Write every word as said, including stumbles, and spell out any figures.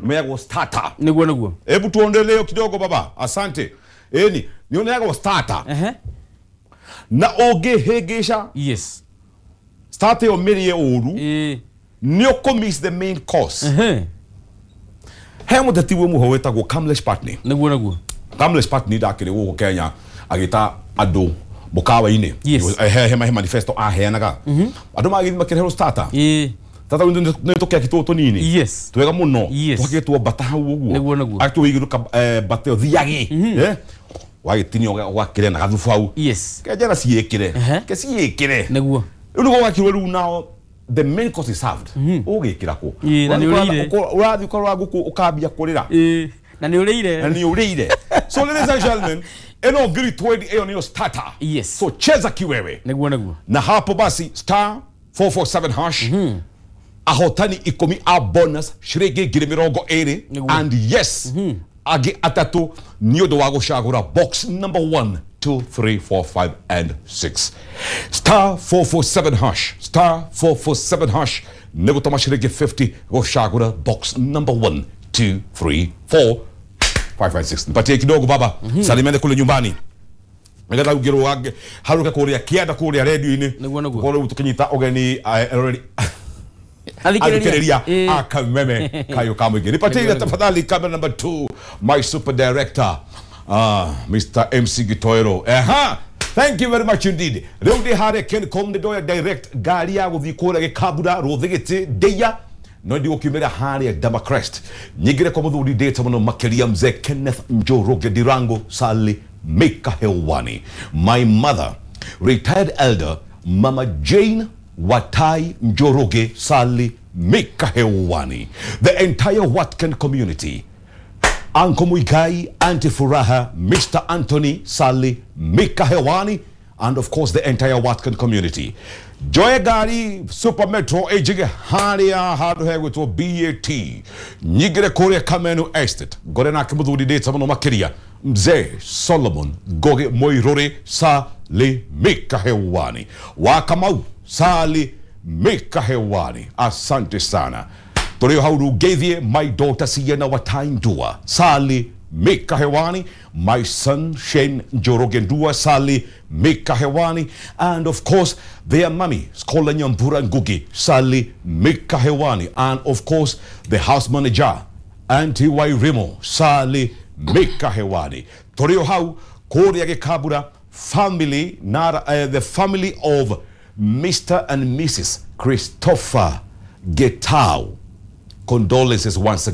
Meagwo starter. Niguo niguo. Hebu tuondelee kidogo baba. Asante. Eni, nioneagwo starter. Ehe. Na ũngĩhĩngĩca Yes. starter ĩyo mĩrĩe ũru Eh. nĩ ũkũ miss the main course. Ehe. He mũteti wĩ mũho wĩtagwo Kamlesh Pattni. Niguo niguo. Kamlesh Pattni ndakĩrĩ gũkũ Kenya agĩta andũ mũkawa-inĩ. Yes. He he manifesto aheanaga. Andũ magĩthiĩ makĩreherwo starter. Eh. Tata nĩ tũkeki tũtũ tũnini. Yes. Twega mũno. Yes. Twakĩtwo mbata hau ũguo. Nĩguo, nĩguo. Agĩtũigĩrwo mbata ĩyo thiagi. Eh? Wagĩtinio ũgakĩrĩa na gathubu hau. Yes. Kenjera ciĩkĩre. Ehe. Ke ciĩkĩre. Niguo. Rĩu nĩguo gwakirwo rĩu nao the main course is served. Ũgĩkĩra kũ? Ĩĩ, na nĩ ũrĩire. Ũrathiĩ ũkarora ngũkũ ũkambia kũrĩra. Eh. Na nĩ ũrĩire. Na nĩ ũrĩire. So ladies and gentlemen, ĩno ngiri twenty ĩyo nĩyo starter. Yes. So cheza kiwewe. Niguo niguo. Na hapo basi star four four seven hash. Ahotani ikũmi a bonus ciringi ngiri mĩrongo ĩrĩ. Nĩguo. And yes, angĩ atatũ nĩ ũndũ wa gũcagũra box number one, two, three, four, five and six. Star four four seven hash. Star four four seven hash. Nĩ gũtũma ciringi fifty gũcagũra box number one, two, three, four, five, five, six. Nipatie kidogo baba. Salimiane kule nyumbani. Nĩgetha ũngĩrũa haruke kũrĩa kĩanda kũrĩa radio-inĩ. Nĩguo, nĩguo. Tũkorwo rĩu tũkĩnyita ũgeni eroreri athikĩrĩria akameme kayo ka mũingĩ. Nipatie ile tafadhali camera number two, my super director, uh, Mister M C Gitoero. Aha. Thank you very much indeed. Rĩu ndĩ harĩa Kencom nĩ ndoya direct ngari ya gũthiĩ kũrĩa Gĩkambura Rũthĩgĩtĩ Ndeia no ndigũkiumĩra harĩa Damacrest nyingĩre kwa mũthuri ndĩte mũno makĩria mzee Kenneth Njoroge Ndirango Sali Mika hewani. My mother, retired elder Mama Jane Watai Njoroge Sali Mika hewani. The entire Watken community, Uncle Muigai, Auntie Furaha, Mister Anthony Sali Mika hewani, and of course the entire Watken community. Joy gari Super Metro ejige haria handu hegwitwo B A T nyingire kuria Kamenu Estate ngore nake muthuri ndĩte mũno makĩria mzee Solomon Ngogi Moirore Sali Mika hewani. Wa Kamau Sali Mika hewani. Asante sana. Tũrĩ hau rũngeithie my daughter Sienna Watai Ndua Sali Mika hewani, my son Shane Njoroge Ndua Sali Mika hewani, and of course their mummy Scholar Nyambura Ngugi Sali Mika hewani, and of course the house manager Auntie Wairimo Sali Mika hewani. Tũrĩ hau kũrĩa Gĩkambura family na uh, the family of Mister and Missus Christopher Getau. Condolences once again.